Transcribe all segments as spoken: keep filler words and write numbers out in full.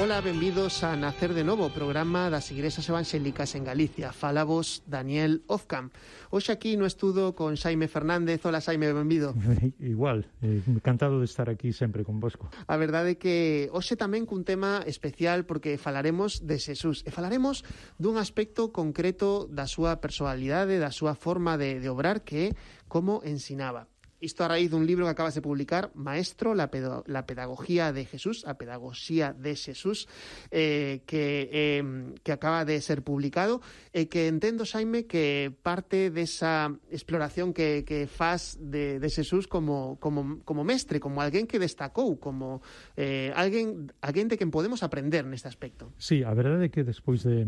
Ola, benvidos a Nacer de Novo, programa das Igrexas Evangélicas en Galicia. Fala vos Daniel Ozcam. Hoxe aquí no estudo con Xaime Fernández. Ola, Xaime, benvido. Igual, eh, encantado de estar aquí sempre con vosco. A verdade é que hoxe tamén cun tema especial porque falaremos de Xesús e falaremos dun aspecto concreto da súa personalidade, da súa forma de, de obrar, que é como ensinaba. Isto a raíz dun libro que acabas de publicar, Maestro, la, pedo, la pedagogía de Jesús, a pedagogía de Xesús, eh, que, eh, que acaba de ser publicado, e eh, que entendo, Xaime, que parte desa exploración que, que faz de, de Xesús como, como, como mestre, como alguén que destacou, como eh, alguén, alguén de quen podemos aprender neste aspecto. Sí, a verdade é que despois de,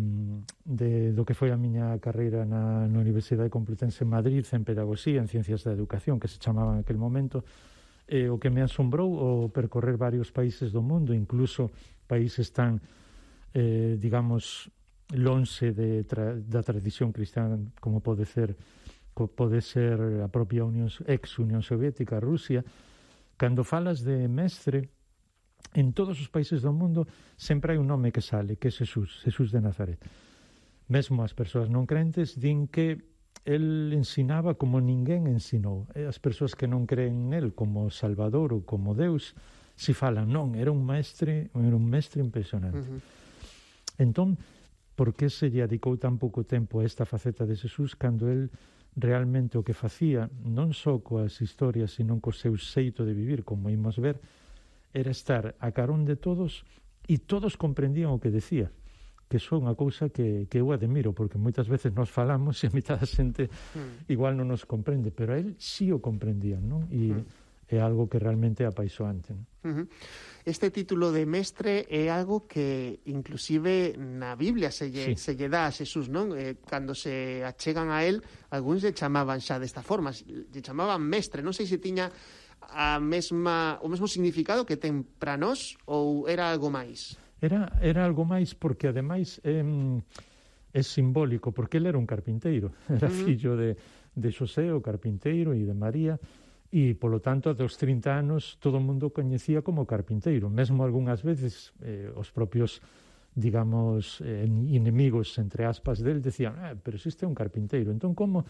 de do que foi a miña carreira na, na Universidade Complutense en Madrid, en Pedagogía, en Ciencias da Educación, que se chamaba en aquel momento, eh, o que me asombrou o percorrer varios países do mundo, incluso países tan, eh, digamos, lonxe de tra da tradición cristiana como pode ser pode ser a propia Unión, ex-Unión Soviética, Rusia. Cando falas de mestre, en todos os países do mundo sempre hai un nome que sale, que é Xesús, Xesús de Nazaret. Mesmo as persoas non crentes din que el ensinaba como ninguén ensinou. E as persoas que non creen nel como Salvador ou como Deus, si falan, non, era un mestre, era un mestre impresionante. Uh -huh. Entón, por que se lle dedicou tan pouco tempo a esta faceta de Xesús cando el realmente o que facía, non só coas historias, sino co seu xeito de vivir, como imos ver, era estar a carón de todos e todos comprendían o que decía, que son unha cousa que, que eu admiro, porque moitas veces nos falamos e a mitad da xente mm. igual non nos comprende, pero a él sí o comprendían, non? E mm. é algo que realmente é apaixoante, non? Uh-huh. Este título de mestre é algo que inclusive na Biblia se lle, sí. se lle dá a Xesús, non? Eh, cando se achegan a él, algúns lle chamaban xa desta forma, lle chamaban mestre, non sei se tiña a mesma, o mesmo significado que ten para nós ou era algo máis? Era, era algo máis porque, ademais, é, é simbólico, porque ele era un carpinteiro. Era uh-huh. fillo de, de Xosé, o carpinteiro, e de María, e, polo tanto, dos trinta anos, todo o mundo coñecía como carpinteiro. Mesmo algunhas veces, eh, os propios, digamos, eh, inimigos, entre aspas, del, decían, ah, pero se este é un carpinteiro. Entón, como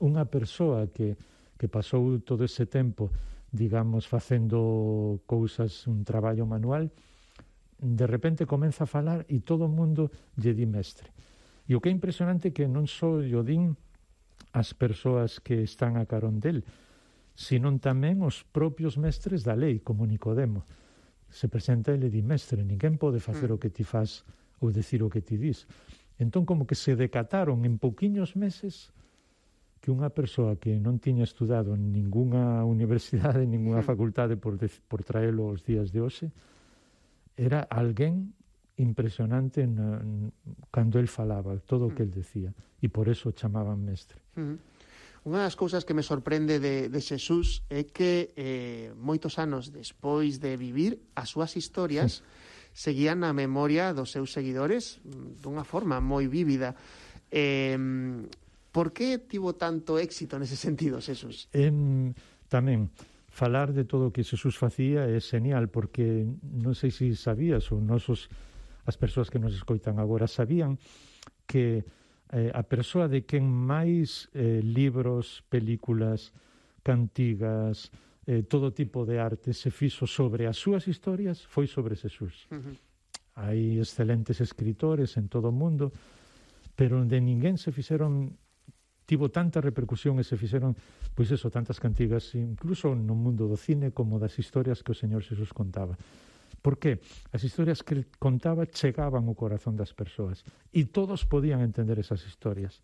unha persoa que, que pasou todo ese tempo, digamos, facendo cousas, un traballo manual, de repente comeza a falar e todo o mundo lle di mestre. E o que é impresionante é que non só lle din as persoas que están a carón del, sino tamén os propios mestres da lei, como Nicodemo. Se presenta e le di, mestre, ninguén pode facer mm. o que ti faz ou decir o que ti dis. Entón, como que se decataron en pouquiños meses que unha persoa que non tiña estudado en ningunha universidade, en ningunha mm. facultade por, de, por traelo aos días de hoxe, era alguén impresionante na, cando el falaba, todo o que el decía, e por eso chamaban mestre. Uh -huh. Unha das cousas que me sorprende de, de Xesús é que eh, moitos anos despois de vivir, as súas historias sí. seguían na memoria dos seus seguidores dunha forma moi vívida. Eh, por que tivo tanto éxito nese sentido, Xesús? Eh, tamén falar de todo o que Xesús facía é genial, porque non sei se sabías, ou nosos, as persoas que nos escoitan agora sabían que eh, a persoa de quen máis eh, libros, películas, cantigas, eh, todo tipo de arte se fixo sobre as súas historias foi sobre Xesús. Uh -huh. Hai excelentes escritores en todo o mundo, pero de ninguén se fixeron tivo tanta repercusión e se fixeron, pois eso, tantas cantigas, incluso no mundo do cine, como das historias que o Señor Xesús contaba. Por que? As historias que contaba chegaban ao corazón das persoas e todos podían entender esas historias.